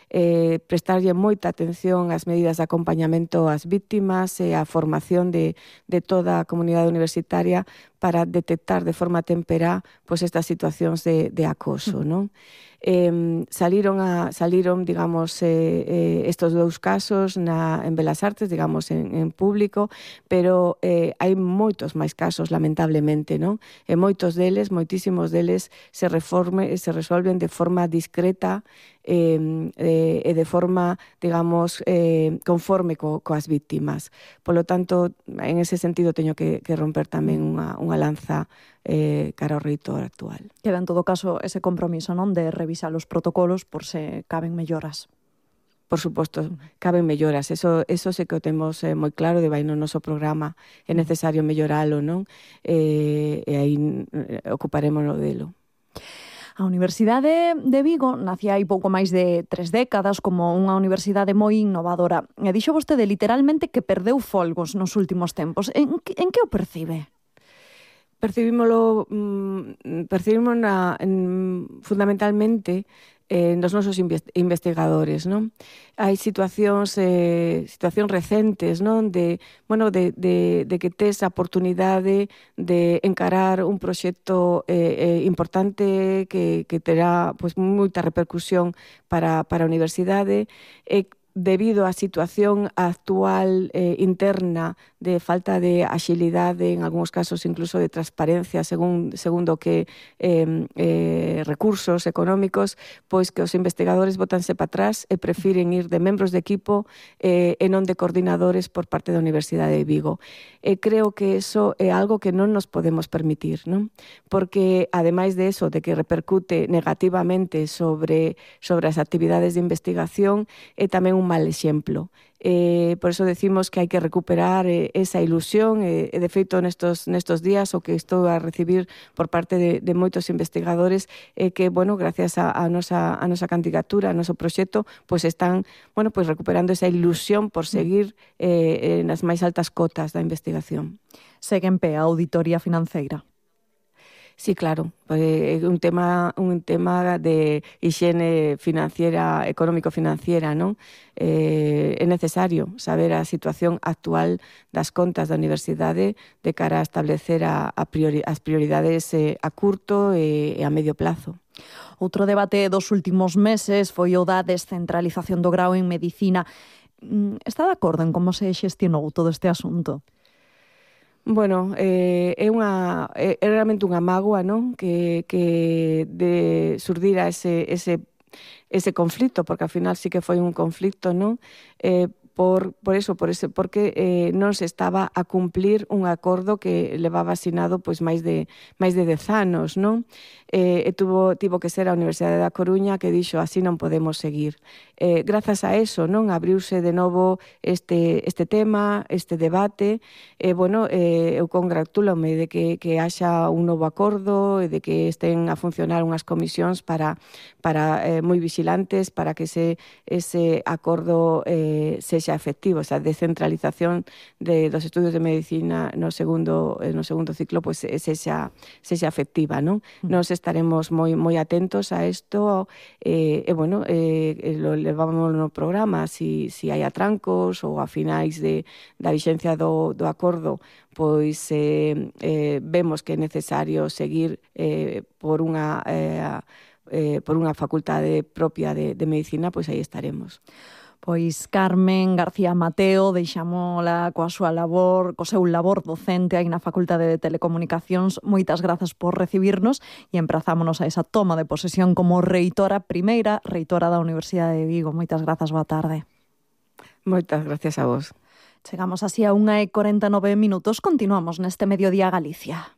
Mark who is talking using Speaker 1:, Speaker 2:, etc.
Speaker 1: prestarlle moita atención ás medidas de acompañamento ás víctimas e a formación de toda a comunidade universitaria para detectar de forma temperá pois estas situacións de acoso, non? Saliron, digamos, estos dous casos en Belas Artes, digamos, en público, pero hai moitos máis casos, lamentablemente, non? E moitísimos deles se resolven de forma discreta e de forma, digamos, conforme coas víctimas. Polo tanto, en ese sentido, teño que romper tamén unha lanza cara ao reitor actual.
Speaker 2: Queda en todo caso ese compromiso, non, de revisar os protocolos por se caben melloras.
Speaker 1: Por suposto, caben melloras, eso sí que o temos moi claro, de vai no noso programa, é necesario melloralo, non? E aí ocuparémonos delo.
Speaker 2: A Universidade de Vigo nacía hai pouco máis de 3 décadas como unha universidade moi innovadora. E dixo vostede literalmente que perdeu folgos nos últimos tempos. En que o percibe?
Speaker 1: Percibímolo fundamentalmente nos nosos investigadores, non? Hai situacións recentes, non? De que tes a oportunidade de encarar un proxecto importante que terá pois moita repercusión para a universidade, debido á situación actual interna de falta de axilidade, en algúns casos incluso de transparencia segundo que recursos económicos, pois que os investigadores botanse para atrás e prefiren ir de membros de equipo e non de coordinadores por parte da Universidade de Vigo. Creo que eso é algo que non nos podemos permitir, non? Porque, ademais de eso, de que repercute negativamente sobre as actividades de investigación, é tamén un mal exemplo. Por eso decimos que hai que recuperar esa ilusión e de feito nestos días o que estou a recibir por parte de moitos investigadores que, bueno, gracias a nosa candidatura, a noso proxecto, pois están, bueno, pois recuperando esa ilusión por seguir nas máis altas cotas da investigación.
Speaker 2: Segue en pé a auditoría financeira?
Speaker 1: Sí, claro, é un tema de hixiene financiera, económico-financiera, non? É necesario saber a situación actual das contas da universidade de cara a establecer as prioridades a curto e a medio plazo.
Speaker 2: Outro debate dos últimos meses foi o da descentralización do grao en Medicina. Está de acordo en como se xestionou todo este asunto?
Speaker 1: Bueno, é realmente unha mágoa, non? Que surdira ese conflito, porque ao final sí que foi un conflito, non? Porque non se estaba a cumplir un acordo que levaba asinado pois máis de 10 anos, non? Tivo que ser a Universidade da Coruña que dixo así non podemos seguir. Grazas a eso, non, abriuse de novo este tema, este debate, eu congratúlome de que haxa un novo acordo e de que estén a funcionar unhas comisións para moi vigilantes para que ese acordo sexa efectivo, esa descentralización dos estudios de medicina no segundo ciclo pois sexa efectiva, non? Nos estaremos moi atentos a isto lo levamos no programa si hai atrancos ou a finais da vixencia do acordo, pois vemos que é necesario seguir por unha facultade propia de medicina, pois aí estaremos.
Speaker 2: Pois Carmen García Mateo, deixámola coa súa labor, co seu labor docente aí na Facultade de Telecomunicacións. Moitas grazas por recibirnos e emprazámonos a esa toma de posesión como primeira reitora da Universidade de Vigo. Moitas grazas, boa tarde.
Speaker 1: Moitas gracias a vos.
Speaker 2: Chegamos así a 1:49. Continuamos neste Mediodía Galicia.